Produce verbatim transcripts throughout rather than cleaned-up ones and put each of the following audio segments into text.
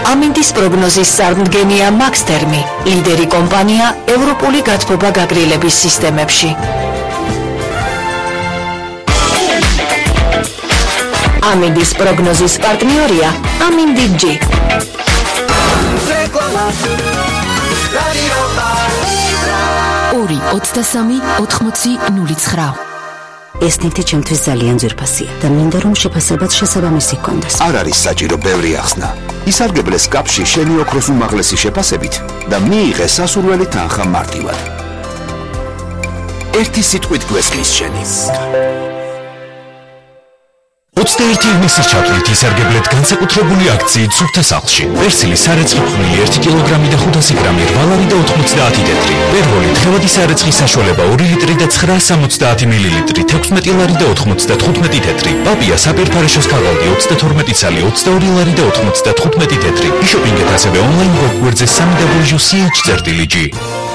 ამინდის პროგნოზის წარმდგენია მაქსთერმი, ლიდერი კომპანია ევროპული გათბობა გაგრილების სისტემებში. ამინდის პროგნოზის პარტნიორია ამინდი ჯი. ორი ოცდასამი ოთხმოცი ნული ცხრა. ეს ნივთი ჩემთვის ძალიან ძვირფასია და მინდა რომ შეფასებაც შესაბამისი ჰქონდეს. არ არის საჭირო ბევრი ახსნა. ისარგებლეს კაპში შენი ოქროს უმაღლესი შეფასებით და მიიღე სასურველი თანხა მარტივად. ერთი სიტყვით გვესმის შენი. ოცდაერთი ივნისის ჩათვლით ისარგებლეთ განსაკუთრებული აქციით სუფთა სახლში. პერსილი სარეცხი ფხვნილი ერთი კილოგრამი და ხუთასი გრამი რვა ლარი და ოთხმოცდაათი თეთრი. პერვოლი დღევადი სარეცხი საშუალება ორი ლიტრი და ცხრა სამოცდაათი მილილიტრი თექვსმეტი ლარი და ოთხმოცდათხუთმეტი თეთრი. პაპია საპერფარეშოს ქაღალდი ოცდათორმეტი ცალი ოცდაორი ლარი და ოთხმოცდათხუთმეტი თეთრი. იშოპინგეთ ასევე ონლაინ გვერდზე სამი დაბლიუ სი ეიჩ წერტილი ჯი.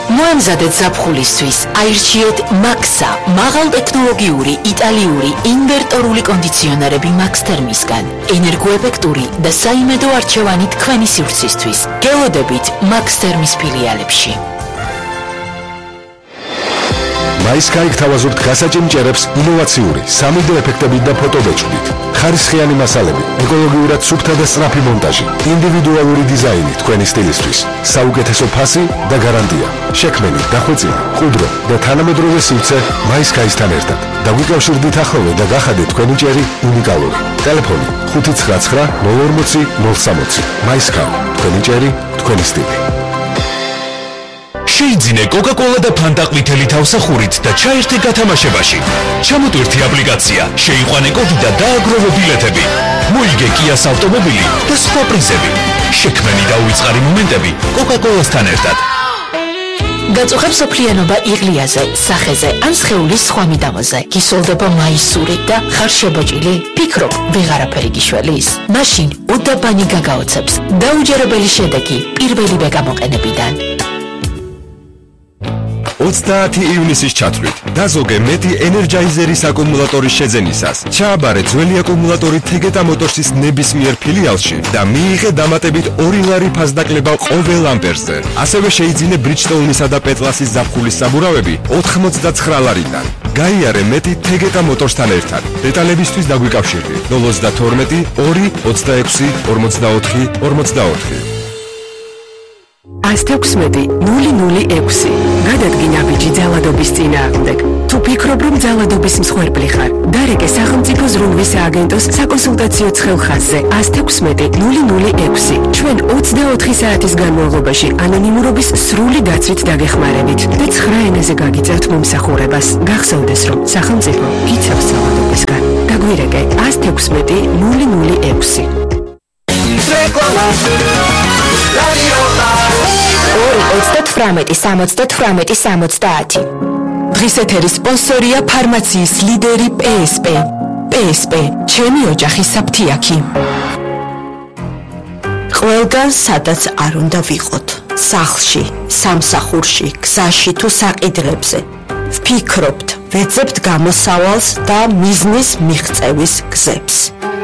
მოემზადეთ ზაფხულისთვის, აირჩიეთ მაქსა, მაღალტექნოლოგიური იტალიური ინვერტორული კონდიციონერები მაქსთერმისგან, ენერგოეფექტური და საიმედო არჩევანი თქვენი სივრცისთვის. გელოდებით მაქსთერმის ფილიალებში. მაისკაი გთავაზობთ გასაჭიმჭერებს ინოვაციური სამიდო ეფექტებით და ფოტობეჭდით. ხარისხიანი მასალები, ეკოლოგიურად სუფთა და სწრაფი მონტაჟი, ინდივიდუალური დიზაინი თქვენი სტილისთვის, საუკეთესო ფასი და გარანტია. შექმენი, დახვეწილი, მყუდრო და თანამედროვე სივრცე მაისკაისთან ერთად. დაგვიკავშირდით ახლოვე და გახადეთ თქვენი ჭერი უნიკალური. ტელეფონი ხუთი ცხრა ცხრა ნული ორმოცი ნული სამოცი. მაისკაი, თქვენი ჭერი, თქვენი სტილი. შეიძინე კოკა-კოლა და ფანტა ყვითელი თავსახურით და ჩაერთე გათამაშებაში. ჩამოტვირთი აპლიკაცია, შეიყვანე კოდი და დააგროვე ბილეთები. მოიგე კიას ავტომობილი და სხვა პრიზები. შექმენი და უიწყარი მომენტები კოკა-კოლასთან ერთად. გაწუხებ სოფლიანობა იღლიაზე, სახეზე ან სხეულის სხვა მიდამოზე. გისოლდება მაისური და ხარ შებოჭილი? ფიქრობ, ვეღარაფერი გიშველის? მაშინ უდაბანი გაგაოცებს. დაუჯერებელი შედეგი პირველივე გამოყენებიდან. ოცდაათი ივნისის ჩათვლით დაზოგე მეტი ენერჯაიზერის აკუმულატორის შეძენისას. ჩააბარე ძველი აკუმულატორი თეგეტა მოტორსის ნებისმიერ ფილიალში და მიიღე დამატებით ორი ლარი ფასდაკლება ყოველ ამპერზე. ასევე შეიძინე ბრიჯტოუნისა და პეტლასის ზაფხულის საბურავები ოთხმოცდაცხრა ლარიდან. გაიარე მეტი თეგეტა მოტორსთან ერთად. დეტალებისთვის დაგვიკავშირდით ნული ოცდათორმეტი ორი ოცდაექვსი ორმოცდაოთხი ორმოცდაოთხი. ას თექვსმეტი ნული ნული ექვსი. გადადგინე ბიჭი ძალადობის წინააღმდეგ. თუ ფიქრობ, რომ ძალადობის მსხვერპლი ხარ, დარეკე სახელმწიფო ზრუნვის სააგენტოს საკონსულტაციო ცხელხაზზე ას თექვსმეტი ნული ნული ექვსი. ჩვენ ოცდაოთხი საათის განმავლობაში ანონიმურობის სრული დაცვით დაგეხმარებით და ცხრა ენაზე გაგიწერთ მომსახურებას. გახსოვდეს, რომ სახელმწიფო გიცავს ძალადობისგან. დაგვირეკე ას თექვსმეტი ნული ნული ექვსი. ორი ოცდათვრამეტი სამოცდათვრამეტი სამოცდაათი. დღის ეთერის სპონსორია ფარმაციის ლიდერი პე ეს პე. პე ეს პე, ჩემი ოჯახის საფთიაქი. ყველგან სადაც არ უნდა ვიყოთ, სახლში, სამსახურში, გზაში თუ საყიდლებზე. ვფიქრობთ, ვეძებთ გამოსავალს და მიზნის მიღწევის გზებს.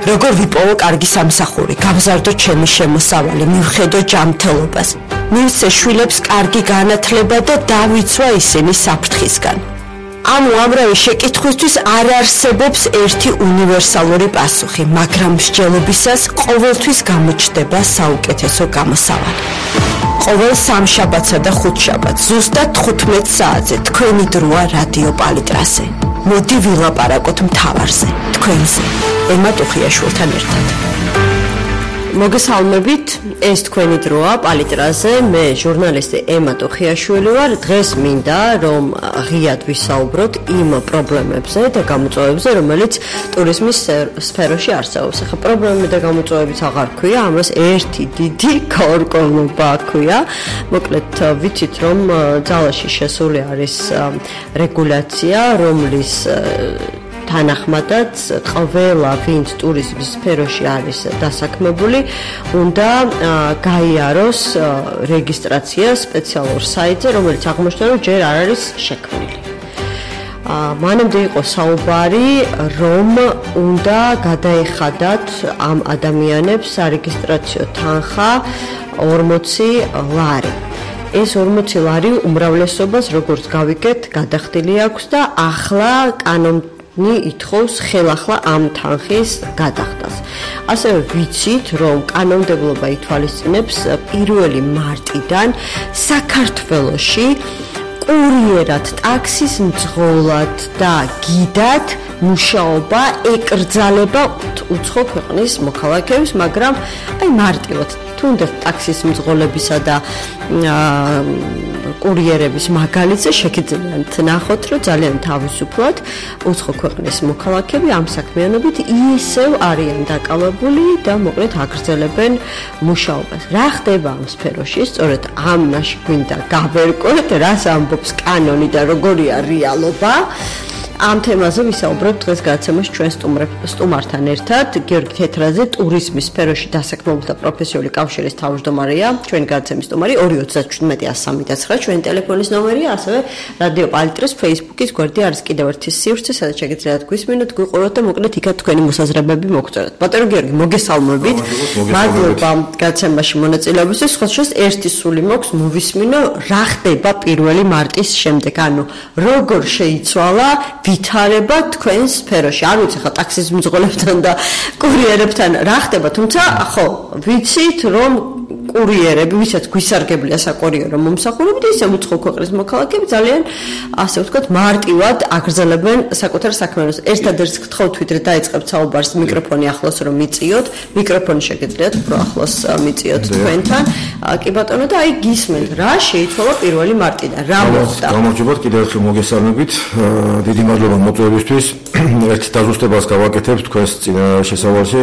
როგორ ვიპოვო კარგი სამსახური, გავზარდო ჩემი შემოსავალი, მივხედო ჯანმრთელობას, მივცე შვილებს კარგი განათლება და დავიცვა ისინი საფრთხისგან. ანუ ამრავი შეკითხვისთვის არ არსებობს ერთი უნივერსალური პასუხი, მაგრამ მსჯელობისას ყოველთვის გამოჩნდება საუკეთესო გამოსავალი. ყოველ სამშაბათსა და ხუთშაბათს ზუსტად თხუთმეტ საათზე თქვენი დროა რადიო პალიტრაზე. მოდი ვილაპარაკოთ მთავარზე, თქვენზე, ემა ტუხიაშვილთან ერთად. მოგესალმებით, ეს თქვენი დროა პალიტრაზე, მე ჟურნალისტი ემა ტუხიაშვილი ვარ. დღეს მინდა რომ ღიად ვისაუბროთ იმ პრობლემებზე და გამოწვევებზე, რომელიც ტურიზმის სფეროში არსებობს. ახლა პრობლემები და გამოწვევებიც აღარ ქვია, ამას ერთი დიდი გაურკვევლობა ქვია. მოკლედ ვიცით რომ ძალაში შესული არის რეგულაცია, რომლის თანახმადაც ყველა ვინც ტურიზმის სფეროში არის დასაქმებული, უნდა გაიაროს რეგისტრაცია სპეციალურ საიტზე, რომელიც აღმოჩნდა, რომ ჯერ არ არის შექმნილი. მანამდე იყო საუბარი, რომ უნდა გადაეხადათ ამ ადამიანებს სარეგისტრაციო თანხა ორმოცი ლარი. ეს ორმოცი ლარი უმრავლესობას, როგორც გავიგეთ, გადახდილი აქვს და ახლა კანონი ითხოვს ხელახლა ამ თანხის გადახდას. ასევე ვიცით, რომ კანონმდებლობა ითვალისწინებს პირველი მარტიდან საქართველოში კურიერად, ტაქსის მძღოლად და გიდად მუშაობა ეკრძალება უცხო ქვეყნის მოქალაქეებს, მაგრამ აი მარტივად თუნდაც ტაქსის მძღოლებისა და კურიერების მაგალითზე შეგიძლიათ ნახოთ, რომ ძალიან თავისუფლად უცხო ქვეყნის მოქალაქეები ამ საქმიანობით ისევ არიან დაკავებული და მოკლედ აგრძელებენ მუშაობას. რა ხდება ამ სფეროში? სწორედ ამაში გვინდა გავერკვეთ, რას ამბობს კანონი და როგორია რეალობა. ამ თემაზე ვისაუბრებთ დღეს გადაცემაში ჩვენ სტუმართან ერთად. გიორგი თეთრაძე, ტურიზმის სფეროში დასაქმებულთა პროფესიული კავშირის თავმჯდომარეა. ჩვენი გადაცემის სტუმარი ორი ოცდაათი შვიდმეტი ასი ცხრა, ჩვენი ტელეფონის ნომერია, ასევე რადიო პალიტრას Facebook-ის გვერდი არის კიდევ ერთი სივრცე, სადაც შეგიძლიათ გვისმინოთ, გვიყუროთ და მოკლედ იქაც თქვენი მოსაზრებები მოგწეროთ. ბატონო გიორგი, მოგესალმებით. მადლობა გადაცემაში მონაწილეობისთვის. სხვა შეს ერთი სული მოქვს მოვისმინო, რა ხდება პირველი მარტის შემდეგ, ანუ როგორ შეიცვალა ვითარება თქვენს სფეროში. არ ვიცი ხა ტაქსის მძღოლებთან და კურიერებთან რა ხდება, თუმცა ხო, ვიცით რომ კურიერები, ვისაც გვისარგებლია საკურიერო მომსახურებით, ისე უცხო ქვეყნის მოქალაქეები ძალიან, ასე ვთქვათ, მარტივად აგრძელებენ საკუთარ საქმიანობას. ერთადერთ გთხოვთ ვიდრე დაიწყებთ საუბარს, მიკროფონი ახლოს რომ მიწიოთ, მიკროფონი შეგიძლიათ უფრო ახლოს მიწიოთ თქვენთან. კი ბატონო და აი გისმენთ, რა შეიცვალა პირველი მარტიდან, რა მოხდა? გამარჯობათ, კიდევ ერთხელ მოგესალმებით. დიდი მადლობა მოწვევისთვის. ერთ დაზუსტებას გავაკეთებ თქვენს შესავალში.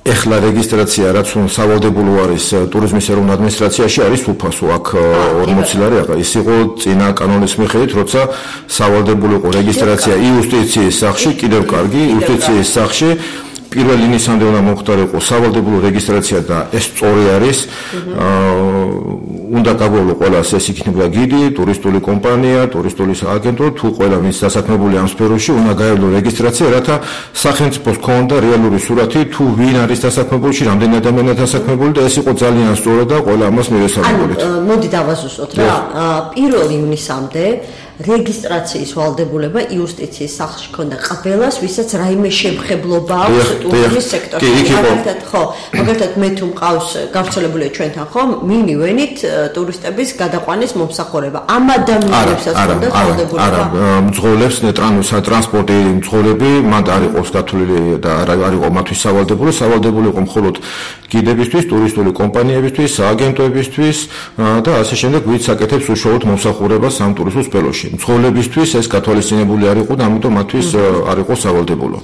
ეხლა რეგისტრაცია რაც სავალდებულო არის ტურიზმის ეროვნულ ადმინისტრაციაში არის უფასო, აქ ორმოცი ლარი აღა ის იყო წინა კანონის მიხედვით, როცა სავალდებულო იყო რეგისტრაცია იუსტიციის სახლში, კიდევ კარგი, იუსტიციის სახლში პირველი ნისამდე უნდა მომხდარიყო სავალდებულო რეგისტრაცია და ეს სწორი არის. უნდა გაგვევლო ყველას ეს იქნება გიდი, ტურისტული კომპანია, ტურისტული სააგენტო, თუ ყველა ვინც დასაქმებული ამ სფეროში უნდა გაევლო რეგისტრაცია, რათა სახელმწიფოს ქონდა რეალური სურათი, თუ ვინ არის დასაქმებული, რამდენი ადამიანია დასაქმებული და ეს იყო ძალიან სწორად და ყველა ამას მივესალმებით. ანუ მოდი დავაზუსტოთ რა. პირველი ივნისამდე რეგისტრაციის ვალდებულება იუსტიციის სახლში ქონდა ყველას, ვისაც რაიმე შემხებლობა აქვს ტურიზმის სექტორში. მაგალითად, ხო, მაგალითად მე თუ მყავს გავრცელებულია ჩვენთან, ხო, მინივენით ტურისტების გადაყვანის მომსახურება. ამ ადამიანებსაც ქონდა ვალდებულება. არა, მძღოლებს ტრანსპორტი მძღოლები მათ არ იყოს გათვლილი და არ იყო მათთვის სავალდებულო, სავალდებულო იყო მხოლოდ გიდებისთვის, ტურისტული კომპანიებისთვის, სააგენტოებისთვის და ასე შემდეგ, ვინც აკეთებს უშუალოდ მომსახურებას ამ ტურისტულ სფეროში. მძღოლებისთვის ეს გათვალისწინებული არ იყო და ამიტომ მათთვის არ იყო სავალდებულო.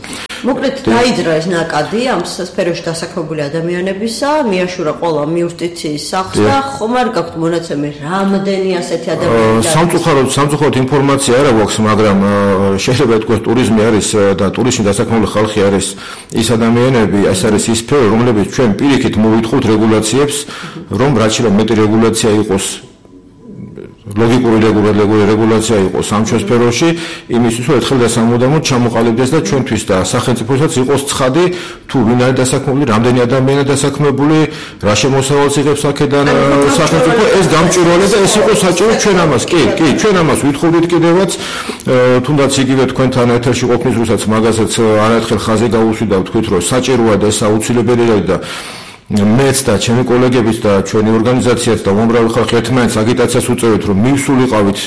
მოკლედ დაიძრა ეს ნაკადი ამ სფეროში დასაქმებული ადამიანებისა, მიაშურა ყველა იუსტიციის სახლს და ხომ არ გაქვთ მონაცემი რამდენი ასეთი ადამიანი? სამწუხაროდ, სამწუხაროდ ინფორმაცია არ აქვს, მაგრამ შეიძლება ითქვას ტურიზმი არის და ტურიზმში დასაქმებული ხალხი არის ის ადამიანები, ეს არის ის სფერო, რომლებიც ჩვენ პირიქით მოვითხოვთ რეგულაციებს, რომ რაც შეიძლება მეტი რეგულაცია იყოს ლოგიკური რეგულაცია იყოს ამ სფეროში, იმისთვის რომ ერთხელ და სამუდამოდ ჩამოყალიბდეს და ჩვენთვის და სახელმწიფოსაც იყოს ცხადი, თუ ვინ არის დასაქმებული, რამდენი ადამიანია დასაქმებული, რა შემოსავალს იღებს აქედან სახელმწიფო, ეს გამჭვირვალე და ეს იყოს საჭირო ჩვენ ამას. კი, კი, ჩვენ ამას ვითხოვდით კიდევაც, თუნდაც იგივე თქვენთან ეთერში ყოფნის დროსაც მაგასაც არაერთხელ ხაზი გაუსვიდა, ვთქვით რომ საჭიროა და ეს აუცილებელია და მეც და ჩემი კოლეგებიც და ჩვენი ორგანიზაციაც და უამრავი ხალხი ერთმანეთს აგიტაციას უწევთ, რომ მივსულიყავით,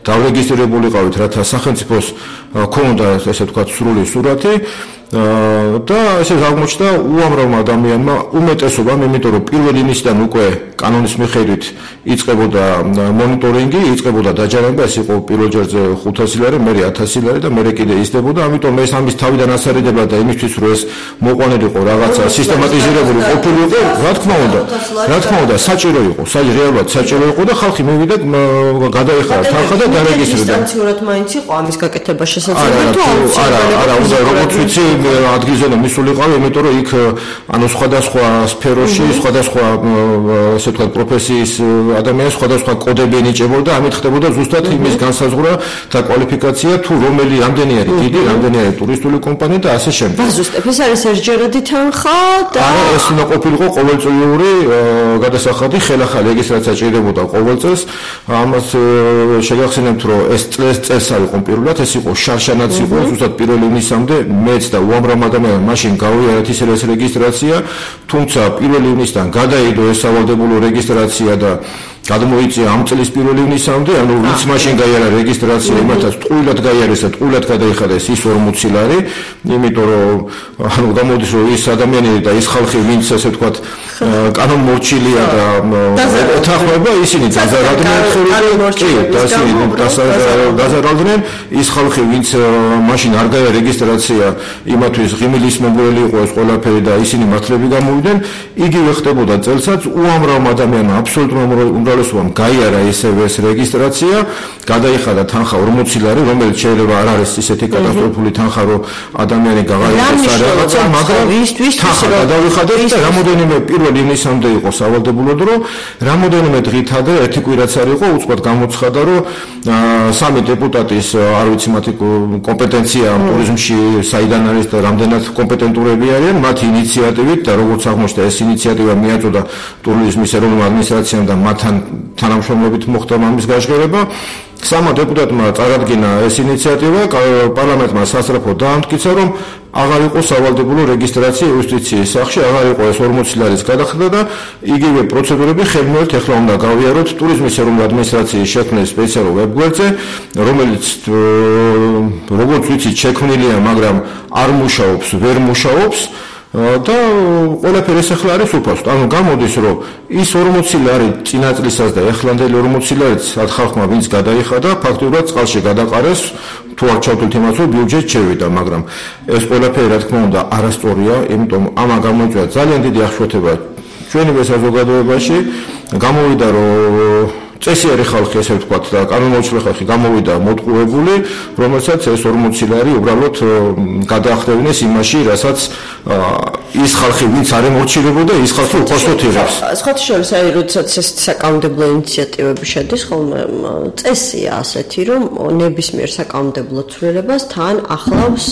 დავრეგისტრირებულიყავით, რათა სახელმწიფოს ქონდა ესე ვთქვათ სრული სურათი და ესე აღმოჩნდა უამრავმა ადამიანმა უმეტესობამ, იმიტომ რომ პირველი ნისიდან უკვე კანონის მიხედვით იწყებოდა მონიტორინგი, იწყებოდა დაჯარება, ეს იყო პირველ ჯერზე ხუთასი ლარი, მერე ათასი ლარი და მერე კიდე იზრდებოდა, ამიტომ ეს ამის თავიდან ასარიდება და იმისთვის რომ ეს მოყვანილიყო რაღაცა სისტემატიზირებული ყოფილიყო, რა თქმა უნდა, რა თქმა უნდა, საჭირო იყო, რეალურად საჭირო იყო და ხალხი მივიდა გადაეხარა თანხა და დარეგისტრირდა. დისტანციურად მაინც იყო ამის გაკეთება შესაძლებელი თუ არა, არა, არა, უნდა როგორც ვიცი ადგილზე მისულიყავი, იმიტომ რომ იქ ანუ სხვადასხვა სფეროში, სხვადასხვა ასე ვთქვათ პროფესიის ადამიანები სხვადასხვა კოდები ენიჭებოდა, ამით ხდებოდა ზუსტად იმის განსაზღვრა და კვალიფიკაცია თუ რომელი რამდენი არის დიდი, რამდენი არის ტურისტული კომპანია და ასე შემდეგ. ზუსტად ეს არის ერთჯერადი თანხა და არა, ეს უნდა ყოფილიყო ყოველწლიური გადასახადი, ხელახალი რეგისტრაცია ჭირდებოდა ყოველ წელს. ამას შეგახსენებთ, რომ ეს წელს წელს არ იყო პირველად, ეს იყო შარშანაც იყო, ზუსტად პირველი ივნისამდე მეც და უამრავ ადამიანმა მაშინ გავიარეთ ის რეგისტრაცია, თუმცა პირველი ივნისიდან გადაიდო ეს სავალდებულო რეგისტრაცია და გადმოიწია ამ წლის პირველი ივნისამდე, ანუ ვინც მაშინ გაიარა რეგისტრაცია, იმათაც ტყუილად გაიარეს და ტყუილად გადაიხადეს ის ორმოცი ლარი, იმიტომ რომ ანუ გამოდის რომ ის ადამიანები და ის ხალხი, ვინც ასე ვთქვათ, კანონმორჩილია და ეთანხმება, ისინი დაზარალდნენ დაზარალდნენ ის ხალხი, ვინც მაშინ არ გაიარა რეგისტრაცია, იმათვის ღიმილის მომგვრელი იყო ეს ყველაფერი და ისინი მართლები გამოვიდნენ, იგივე ხდებოდა წელსაც, უამრავ ადამიანმა აბსოლუტურად უმრავლესობამ გაიარა ისევე ეს რეგისტრაცია, გადაიხადა თანხა ორმოცი ლარი, რომელიც შეიძლება არ არის ისეთი კატასტროფული თანხა, რომ ადამიანი გაღაიარეს რაღაცა, მაგრამ თანხა გადაიხადა და რამოდენიმე პირველ ივნისამდე იყო სავალდებულო დრო, რამოდენიმე დღით ადრე ერთი კვირაც არ იყო, უცბად გამოცხადა, რომ სამი დეპუტატის, არ ვიცი მათი კომპეტენცია ტურიზმში საიდან არის და რამდენად კომპეტენტურები არიან, მათი ინიციატივით და როგორც აღმოჩნდა, ეს ინიციატივა მიაწოდა ტურიზმის ეროვნულ ადმინისტრაციამ და მათთან თანამშრომლობით მოხდა ამის გაჟღერება. Სამა დეპუტატმა წარადგინა ეს ინიციატივა, პარლამენტმა სასწრაფოდ დაამტკიცა, რომ აღარ იყო სავალდებულო რეგისტრაცია იუსტიციის სახში, აღარ იყო ეს ორმოცი ლარის გადახდა და იგივე პროცედურები ხელმოერთ ეხლა უნდა გავიაროთ ტურიზმის ეროვნული ადმინისტრაციის შექმნის სპეციალურ ვებგვერდზე, რომელიც როგორც ვიცით შექმნილია, მაგრამ არ მუშაობს, ვერ მუშაობს. და ყველაფერი ეს ახლა არის უფასოდ. ანუ გამოდის, რომ ის ორმოცი ლარი წინა წლისას და ახლანდელი ორმოცი ლარიც მათ ხალხმა ვინც გადაიხადა, ფაქტობრივად წყალში გადაყარეს, თუ არ ჩავთვლით იმას, რომ ბიუჯეტი შევიდა, მაგრამ ეს ყველაფერი რა თქმა უნდა არასწორია, იმიტომ ამან გამოიწვია ძალიან დიდი აღშფოთება ჩვენი საზოგადოებაში, გამოვიდა რომ წესიერი ხალხი, ესე ვთქვათ, და კანონმორჩილე ხალხი გამოვიდა მოტყუებული, რომელსაც ეს ორმოცი ლარი უბრალოდ გადაახდევინეს იმაში, რასაც ის ხალხი, ვინც არ ემორჩილებოდა, ის ხალხი უხოსოდ იღებს. სხვათა შორის, აი, როდესაც ეს საკანონმდებლო ინიციატივები შედის, ხოლმე წესია ასეთი, რომ ნებისმიერ საკანონმდებლო ცვლილებას თან ახლავს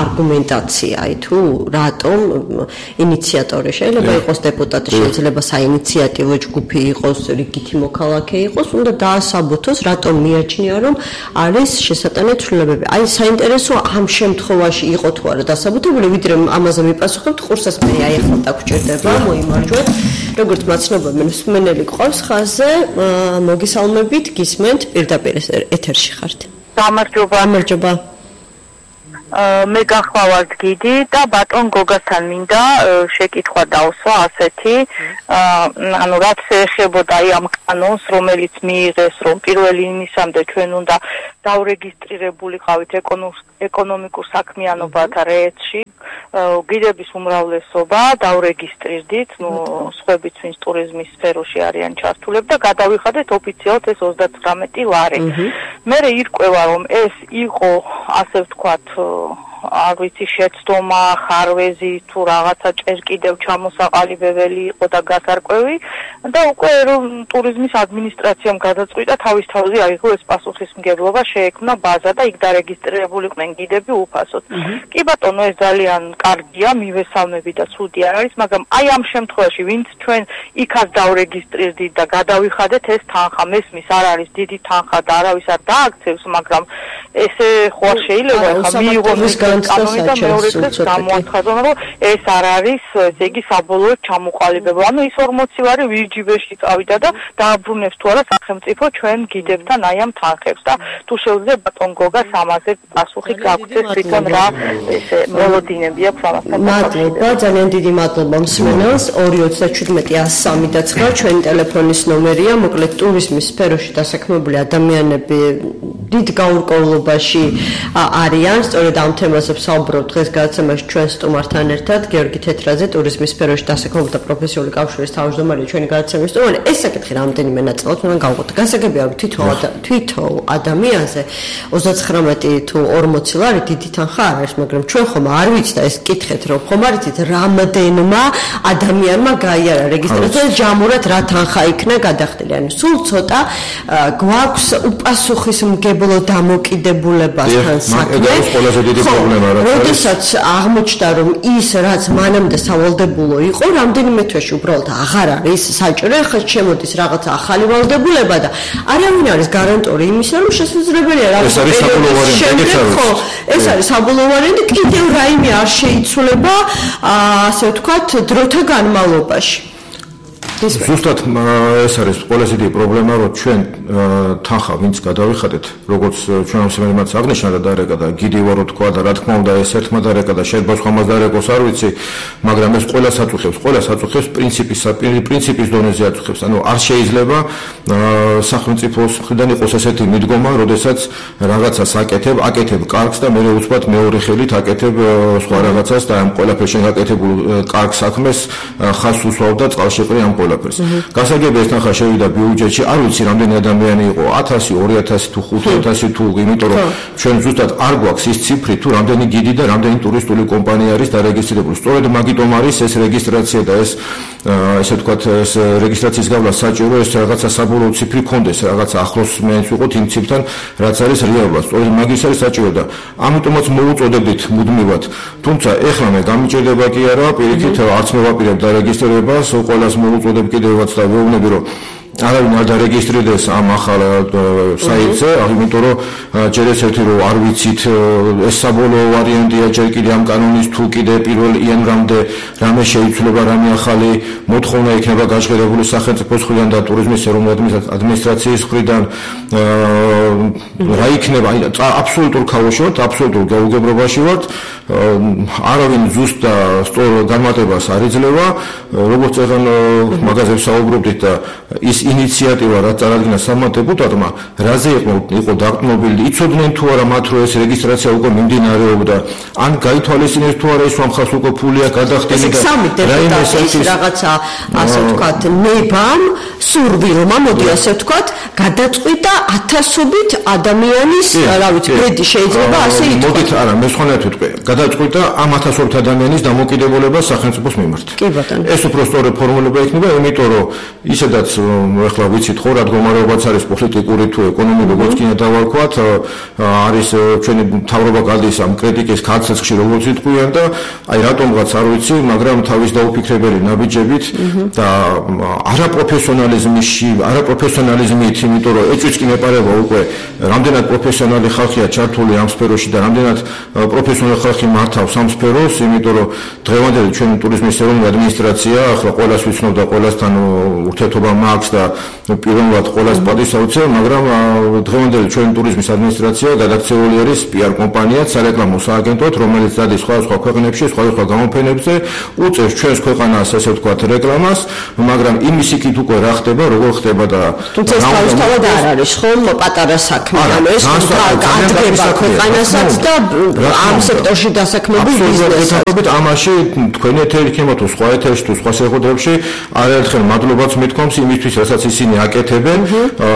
არგუმენტაცია, აი, თუ რატომ ინიციატორი შეიძლება იყოს დეპუტატი, შეიძლება საინიციატივო ჯგუფი იყოს, რიგითი მოქალაქე იყოს, უნდა დაასაბუთოს, რატომ მიაჩნია, რომ არის შესატანე ცვლილებები. აი, საინტერესოა ამ შემთხვევაში იყო თუ არა დასაბუთებული, ვიდრე ამაზე მიპასუხებთ, ყურსას მე აი ახლა დაგჭირდება, მოიმარჯვეთ. როგორც მაცნობა მსმენელი გყავს ხაზზე, მოგესალმებით, გისმენთ, პირდაპირ ეთერში ხართ. გამარჯობა. გამარჯობა. მე გახლავართ გიდი და ბატონ გოგასთან მინდა შეკითხვა დავსვა ასეთი, ანუ რაც ეხებოდა აი ამ კანონს, რომელიც მიიღეს, რომ პირველი ივნისამდე ჩვენ უნდა დავრეგისტრირებულიყავით ეკონომიკურ საქმიანობათა რეესტრში, გიდების უმრავლესობა დავრეგისტრირდით, ну, სხვებიც ვინც ტურიზმის სფეროში არიან ჩართულები და გადავიხადეთ ოფიციალურად ეს ოცდათვრამეტი ლარი. მე ირკვევა, რომ ეს იყო, ასე ვთქვათ, არ ვიცი, შეცდომა, ხარვეზი თუ რაღაცა ჭერ კიდევ ჩამოსაყალიბებელი იყო და გასარკვევი და უკვე რომ ტურიზმის ადმინისტრაციამ გადაწყვიტა თავის თავზე აიღო ეს პასუხისმგებლობა, შეექმნა ბაზა და იქ დარეგისტრირებულიყვნენ გიდები უფასოდ. კი ბატონო, ეს ძალიან კარგია, მივესალმები და ცუდი არ არის, მაგრამ აი ამ შემთხვევაში, ვინც ჩვენ იქაც დავრეგისტრირდით და გადავიხადეთ ეს თანხა, მესმის არ არის დიდი თანხა და არავის არ დააქცევს, მაგრამ ესე ხო შეიძლება ხა მიიღოს კანონი და მეორე დღეს გამოაცხადონ, რომ ეს არ არის, ესე იგი საბოლოოდ ჩამოყალიბება. ანუ ის ორმოცი ლარი ვირჯიბეში წავიდა და დააბრუნებს თუ არა სახელმწიფო ჩვენ გიდებთან აი ამ თანხებს და თუ შეუძლია ბატონ გოგას ამაზე პასუხი გაგცეს, თვითონ რა ესე მელოდინები აქვს ამასთან. მადლობა, ძალიან დიდი მადლობა მსმენელს. ორი ოცდაჩვიდმეტი ათს სამი და ცხრა ჩვენი ტელეფონის ნომერია. მოკლედ ტურიზმის სფეროში დასაქმებული ადამიანები დიდ გაურკვევლობაში არიან, სწორედ ამ თემაზე ვსაუბრობთ დღეს გადაცემაში ჩვენ სტუმართან ერთად, გიორგი თეთრაძე, ტურიზმის სფეროში დასაქმებული და პროფესიული კავშირის თავმჯდომარე, ჩვენი გადაცემის სტუმარი. ეს საკითხი რამდენიმე ნაწილად უნდა გავყოთ. გასაგებია თვითონ თვითონ ადამიანს აზრზე ოცდაცხრამეტი თუ ორმოცი ლარი დიდი თანხა არ არის, მაგრამ ჩვენ ხომ არ ვიცით და ეს კითხეთ რომ ხომ არ იცით რამდენმა ადამიანმა გაიარა რეგისტრაცია და ჯამურად რა თანხა იქნა გადახდილი. ანუ სულ ცოტა გვაქვს უპასუხისმგებლო დამოკიდებულებასთან საქმე. ეს ყველაზე დიდი პრობლემა რა. როდესაც აღმოჩნდა რომ ის რაც მანამდე სავალდებულო იყო, რამდენიმე თვეში უბრალოდ აღარ არის საჭირო, ახლა შემოდის რაღაცა ახალი ვალდებულება და არავინ არის გარანტორი იმისა, რომ შესაძლებელია რაღაცა ხო, ეს არის საბოლოო ვარიანტი, კიდევ რაიმე არ შეიცვლება, ასე ვთქვათ, დროთა განმავლობაში. ზუსტად ეს არის ყველაზე დიდი პრობლემა, რომ ჩვენ თანხა ვინც გადავიხადეთ, როგორც ჩვენ ამსმენელმაც აღნიშნა და დარეკა და გიდი ვარო თქვა და რა თქმა უნდა ეს ერთმა დარეკა და შეიძლება სხვამაც დარეკოს არ ვიცი, მაგრამ ეს ყველას აწუხებს, ყველას აწუხებს პრინციპის პრინციპის დონეზე აწუხებს. ანუ არ შეიძლება სახელმწიფოს მხრიდან იყოს ესეთი მიდგომა, როდესაც რაღაცას აკეთებ, აკეთებ კარგს და მეორე უცბად მეორე ხელით აკეთებ სხვა რაღაცას და ამ ყველაფერში გაკეთებულ კარგ საქმეს ხაზს უსვავ და წყალშეყრი ამ ყველაფერს. გასაგებია ეს თანხა შევიდა ბიუჯეტში, არ ვიცი რამდენი ადამიანი იყო, ათასი, ორი ათასი თუ ხუთი ათასი თუ, იმიტომ რომ ჩვენ ზუსტად არ გვაქვს ის ციფრი თუ რამდენი გიდი და რამდენი ტურისტული კომპანია არის დარეგისტრირებული. სწორედ მაგიტომ არის ეს რეგისტრაცია და ეს ესე ვთქვათ, ეს რეგისტრაციის გავლა საჭირო, ეს რაღაცა საბოლოო ციფრი ქონდეს, რაღაცა ახლოს მეც ვიყოთ იმ ციფრთან, რაც არის რეალურად. სწორედ მაგის არის საჭირო და ამიტომაც მოუწოდებდით მუდმივად. თუმცა ეხლა მე გამიჭირდება კი არა, პირიქით არც მე ვაპირებ დარეგისტრირებას, ყველას მოუწოდებ კიდევაც და ვეუბნები რომ არავინ არ დარეგისტრირდეს ამ ახალ საიტზე, იმიტომ რომ ჯერ ეს ერთი რომ არ ვიცით ეს საბოლოო ვარიანტია, ჯერ კიდე ამ კანონის თუ კიდე პირველ იანვრამდე რამე შეიცვლება, რამე ახალი მოთხოვნა იქნება გაჟღერებული სახელმწიფოს მხრიდან და ტურიზმის ეროვნული ადმინისტრაციის მხრიდან რა იქნება, აბსოლუტურ ქაოსში ვართ, აბსოლუტურ გაუგებრობაში ვართ, არავინ ზუსტ და სწორ განმარტებას არ იძლევა, როგორც ეხლა მაგაზე ვსაუბრობდით და ის ინიციატივა რაც წარადგინა სამმა დეპუტატმა, რაზე იყო იყო დაკმობილი, იცოდნენ თუ არა მათ რომ ეს რეგისტრაცია უკვე მიმდინარეობდა, ან გაითვალისწინეს თუ არა ის ხალხს უკვე ფულია გადახდილი და რაიმე რაღაცა ასე ვთქვათ, ნებამ, სურვილმა, მოდი ასე ვთქვათ, გადაწყვიტა ათასობით ადამიანის, რა ვიცი, ბედი შეიძლება ასე ითქვას. მოდით არა, მე სხვანაირად ვიტყვი. გადაწყვიტა ამ ათასობით ადამიანის დამოკიდებულება სახელმწიფოს მიმართ. კი ბატონო. ეს უფრო სწორი ფორმულება იქნება, იმიტომ რომ ისედაც ეხლა ვიცით ხო რა მდგომარეობაც არის პოლიტიკური თუ ეკონომიკური, როგორც კი დავარქვათ, არის ჩვენი მთავრობა გადის ამ კრიტიკის კაცეცხში, როგორც იტყვიან და აი რატომღაც არ ვიცი, მაგრამ თავის დაუფიქრებელი ნაბიჯებით და არაპროფესიონალიზმში, არაპროფესიონალიზმით, იმიტომ რომ ეჭვიც კი მეპარება უკვე რამდენად პროფესიონალი ხალხია ჩართული ამ სფეროში და რამდენად პროფესიონალი ხალხი მართავს ამ სფეროს, იმიტომ რომ დღევანდელი ჩვენი ტურიზმის ეროვნული ადმინისტრაცია ახლა ყველას ვიცნობ და ყველასთან ურთიერთობა მაქვს და პირველად ყველას პატივსაცემ, მაგრამ დღევანდელი ჩვენი ტურიზმის ადმინისტრაცია გადაქცეული არის პიარ კომპანიად, სარეკლამო სააგენტოდ, რომელიც დადის სხვადასხვა ქვეყნებში, სხვადასხვა გამოფენებზე, უწევს ჩვენს ქვეყანას, ასე ვთქვათ, რეკლამას, მაგრამ იმის იქით უკვე რა ხდება, როგორ ხდება და თუმცა ეს თავისთავად არ არის ხომ პატარა საქმე, ანუ ეს გადგება ქვეყანასაც და ამ სექტორში დასაქმებულ ბიზნესს. ამაში თქვენი ეთერი იქნება თუ სხვა ეთერში თუ სხვა შეხვედრებში არაერთხელ მადლობაც მithkoms იმისთვის, რასაც ისინი აკეთებენ,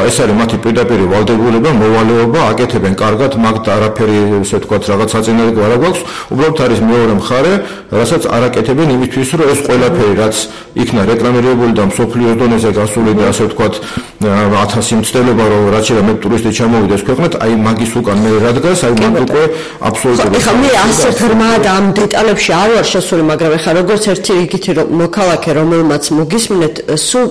ეს არის მათი პირდაპირი ვალდებულება, მოვალეობა, აკეთებენ კარგად, მაგ არაფერი, ესე ვთქვათ, რაღაც საწინააღმდეგო არ გვაქვს, უბრალოდ არის მეორე მხარე, რასაც არ აკეთებენ იმისთვის, რომ ეს ყველაფერი, რაც იქნა რეკლამირებული და მსოფლიოს დონეზე გასული და ასე ვთქვათ, ათასი მცდელობა, რომ რაც შეიძლება მე ტურისტი ჩამოვიდეს ქვეყნად, აი მაგის უკან მე რა დგას, აი მაგ უკვე აბსოლუტურად. ეხლა მე ასე ღრმად ამ დეტალებში არ ვარ შესული, მაგრამ ეხლა როგორც ერთი რიგითი მოქალაქე, რომელმაც მოგისმინეთ, სულ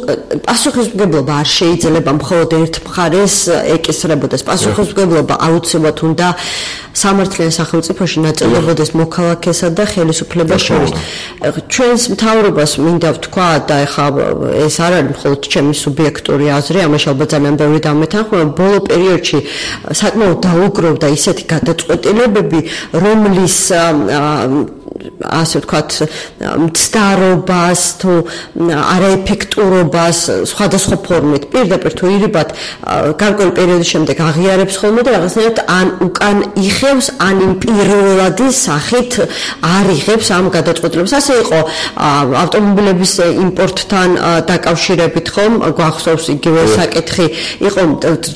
პასუხისმგებლობა არ შეიძლება მხოლოდ ერთ მხარეს ეკისრებოდეს. პასუხისმგებლობა აუცილებლად უნდა სამართლიან სახელმწიფოში ნაწილდებოდეს მოქალაქესა და ხელისუფლებას შორის. ჩვენს მთავრობას მინდა ვთქვა და ეხლა ეს არ არის მხოლოდ ჩემი სუბიექტური აზრი, ამაში ალბათ ძალიან ბევრი დამეთანხმება, ბოლო პერიოდში საკმაოდ დაუგროვდა ისეთი გადაწყვეტილებები, რომლის ასე ვთქვათ, მცდარობას თუ არაეფექტურობას სხვადასხვა ფორმით პირდაპირ თუ ირიბად გარკვეული პერიოდის შემდეგ აღიარებს ხოლმე და რაღაცნაირად ან უკან იხევს, ან იმ პირველადი სახით არ იღებს ამ გადაწყვეტილებას. ასე იყო ავტომობილების იმპორტთან დაკავშირებით ხომ, გვახსოვს იგივე საკითხი, იყო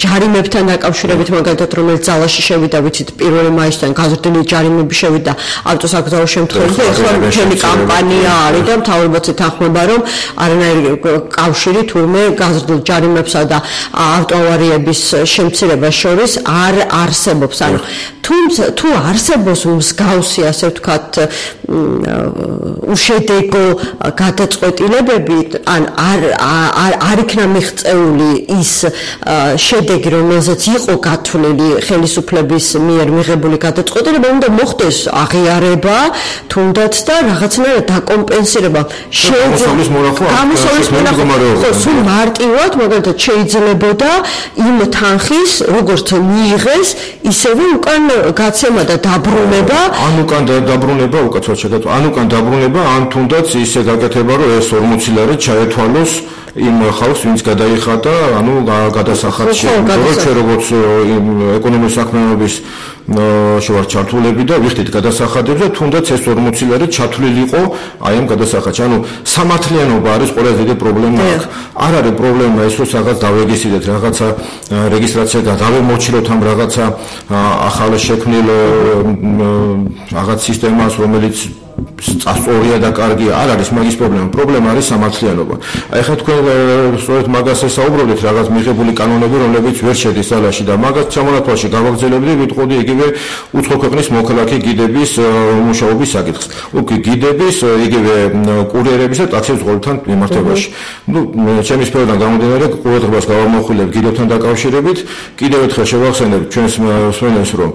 ჯარიმებთან დაკავშირებით, მაგალითად, რომელიც ძალაში შევიდა, ვიცით, პირველი მაისიდან გაზრდილი ჯარიმები შევიდა ავტოსაკრძალო შემთხვევაში და ეხლა მთელი კამპანია არის და მთავრობაც ეთანხმება, რომ არანაირი კავშირი თურმე გაზრდილ ჯარიმებსა და ავტოავარიების შემცირებას შორის არ არსებობს. ანუ თუმცა თუ არსებობს მსგავსი, ასე ვთქვათ, უშედეგო გადაწყვეტილებები, ან არ არ არ იქნა მიღწეული ის შედეგი, რომელზეც იყო გათვლილი ხელისუფლების მიერ მიღებული გადაწყვეტილება, უნდა მოხდეს აღიარება, თუნდაც და რაღაცნაირად დაკომპენსირება. შემოსავლის მონახვა გამოსავლის მონახვა სულ მარტივად, მაგალითად, შეიძლებოდა იმ თანხის, როგორც მიიღეს, ისევე უკან გაცემა და დაბრუნება. ან უკან დაბრუნება, უკაცრავად შეგატყო, ან უკან დაბრუნება, ან თუნდაც ისე გაკეთება, რომ ეს ორმოცი ლარი ჩაეთვალოს იმ ხალხს, ვინც გადაიხადა, ანუ გადასახადში. ჩვენ როგორც ეკონომიკის საქმიანობის შევარ ჩართულები და ვიხდით გადასახადებს და თუნდაც ეს ორმოცი ლარი ჩათვლილიყო აი ამ გადასახადში. ანუ სამართლიანობა არის ყველაზე დიდი პრობლემა აქ. არ არის პრობლემა ის, რომ რაღაც დავეგისიდეთ, რაღაცა რეგისტრაცია დავემოჩილოთ ამ რაღაცა ახალ შექმნილ რაღაც სისტემას, რომელიც სწორია და კარგია, არ არის მაგის პრობლემა. პრობლემა არის სამართლიანობა. აი ხა თქვენ სწორედ მაგას ესაუბრობთ, რაღაც მიღებული კანონები, რომლებიც ვერ შედის ძალაში და მაგას ჩამონათვალში გავაგრძელებდი, ვიტყოდი იგივე უცხო ქვეყნის მოქალაქე გიდების მუშაობის საკითხს. უკი გიდების, იგივე კურიერების და ტაქსის ზღვრებთან მიმართებაში. ნუ ჩემი სფეროდან გამომდინარე, ყურადღებას გავამახვილებ გიდებთან დაკავშირებით. კიდევ ერთხელ შევახსენებ ჩვენს მსმენელს, რომ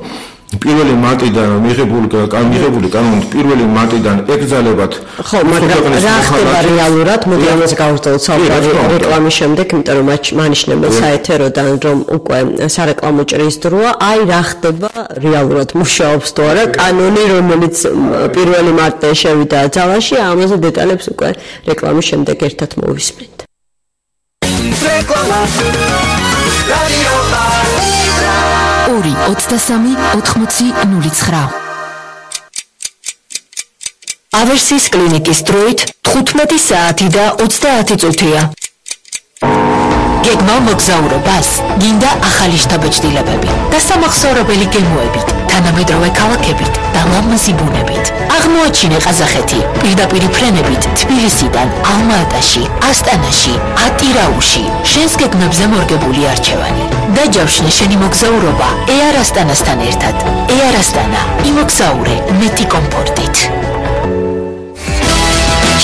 პირველი მარტიდან მიღებული მიღებული კანონით პირველი მარტიდან ეკრძალებათ. ხო, მაგრამ რა ხდება რეალურად? მოდი ამაზე გავუსწავლოთ საუბარი რეკლამის შემდეგ, იმიტომ რომ მანიშნებელ საეთეროდან რომ უკვე სარეკლამო ჭრის დროა, აი რა ხდება რეალურად მუშაობს თუ არა კანონი, რომელიც პირველი მარტიდან შევიდა ძალაში, ამაზე დეტალებს უკვე რეკლამის შემდეგ ერთად მოვისმენთ. რეკლამა რადიო ორი ოცდასამი ოთხმოცი ნული ცხრა. ავერსის კლინიკის დროით თხუთმეტი საათი და ოცდაათი წუთია. გეგმავ მოგზაურობას, გინდა ახალი შთაბეჭდილებები და სამახსოვრებელი გემოებით, თანამედროვე ქალაქებით და ლამაზი ბუნებით. აღმოაჩინე ყაზახეთი პირდაპირი ფრენებით თბილისიდან, ალმა-ატაში, ასტანაში, ატირაუში. შენს გეგმებზე მორგებული არჩევანი. დაჯავშნე შენი მოგზაურობა ეარ ასტანასთან ერთად. ეარ ასტანა, იმოგზაურე მეტი კომფორტით.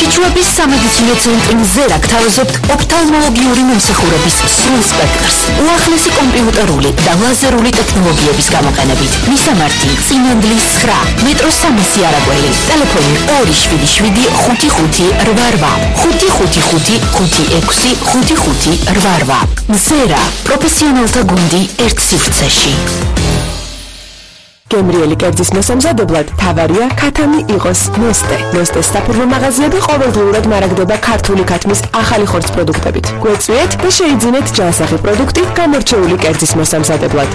ჩიჩუების სამედიცინო ცენტრი მზერა გთავაზობთ ოფთალმოლოგიური მომსახურების სრულ სპექტრს. უახლესი კომპიუტერული და ლაზერული ტექნოლოგიების გამოყენებით. მისამართი წინანდლის ცხრა, მეტროს სამასი არაგველი. ტელეფონი ორი შვიდი შვიდი ხუთი ხუთი რვა რვა, ხუთი ხუთი ხუთი ხუთი ექვსი ხუთი ხუთი რვა რვა. მზერა, პროფესიონალთა გუნდი ერთ სივრცეში. გემრიელი კერძის მოსამზადებლად თავარია ქათამი იყოს ნოსტე. ნოსტეს საფურმო მაღაზიები ყოველდღიურად მარაგდება ქართული ქათმის ახალი ხორცს პროდუქტებით. გვეწვიეთ და შეიძინეთ ჯანსაღი პროდუქტი გამორჩეული კერძის მოსამზადებლად.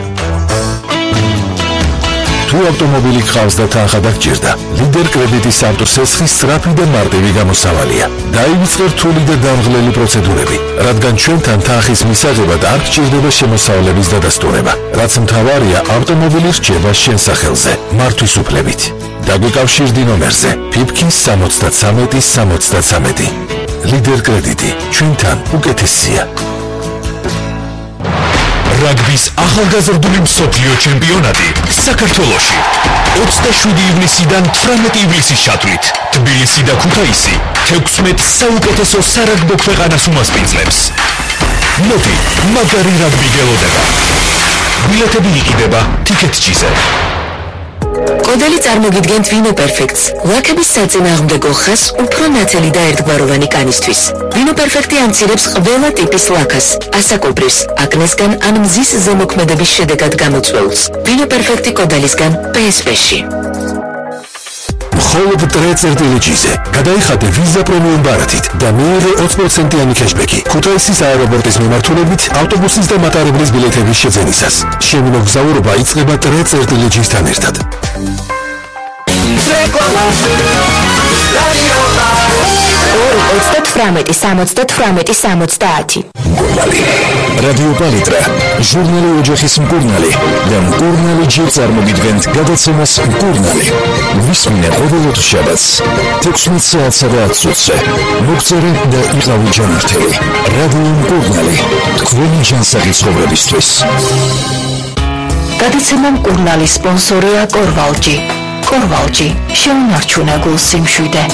თუ ავტომობილი გყავს და თანხა დაგჭირდა, ლიდერ კრედიტის სამტუცესხის სწრაფი და მარტივი გამოსავალია. დაივიწყე რთული და დამღლელი პროცედურები, რადგან ჩვენთან თანხის მისაღებად არ გჭირდება შემოსავლების დადასტურება. რაც მთავარია, ავტომობილი რჩება შენ სახელზე, მართვის უფლებით. დაგვიკავშირდი ნომერზე ფიფქის სამოცდათსამეტი სამოცდათსამეტი. ლიდერ კრედიტი, ჩვენთან უკეთესია. რაგბის ახალგაზრდული მსოფლიო ჩემპიონატი საქართველოში ოცდაშვიდი ივნისიდან თვრამეტი ივლისის ჩათვლით თბილისი და ქუთაისი თექვსმეტ საუკეთესო სარაგბო ქვეყანას უმასპინძლებს. მოდი, მაგარი რაგბი გელოდება. ბილეთები იყიდება ტიკეტჩიზე. კოდელი წარმოგიდგენთ ვინო პერფექტს, ლაქების საწინააღმდეგო ხაზს უფრო ნათელი და ერთგვაროვანი კანისთვის. ვინო პერფექტი ამცირებს ყველა ტიპის ლაქას, ასაკობრივს, აკნესგან ან მზის ზემოქმედების შედეგად გამოწვეულს. ვინო პერფექტი კოდელისგან პე ეს პე-ში. მხოლოდ ტრე წერტილი ჯიზე. გადაიხადე ვიზა პრემიუმ ბარათით და მიიღე ოცი პროცენტიანი კეშბექი ქუთაისის აეროპორტის მიმართულებით ავტობუსის და მატარებლის ბილეთების შეძენისას. შენი მოგზაურობა იწყება ტრე წერტილი ჯისთან ერთად. ორი ოცდათვრამეტი სამოცდათვრამეტი სამოცდაათი. მკურნალი. რადიო პალიტრა, ჟურნალი ოჯახის მკურნალი და მკურნალი ჯი წარმოგიდგენთ გადაცემას მკურნალი. ვისმინე ყოველ შაბათს თექვსმეტ საათსა და ათს ოცზე. მოგწერე და იყავი ჯანმრთელი. რადიო მკურნალი, თქვენი ჯანსაღი ცხოვრებისთვის. გადაცემა მკურნალის სპონსორია კორვალჯი. კორვალჯი, შეუნარჩუნე გულ სიმშვიდე.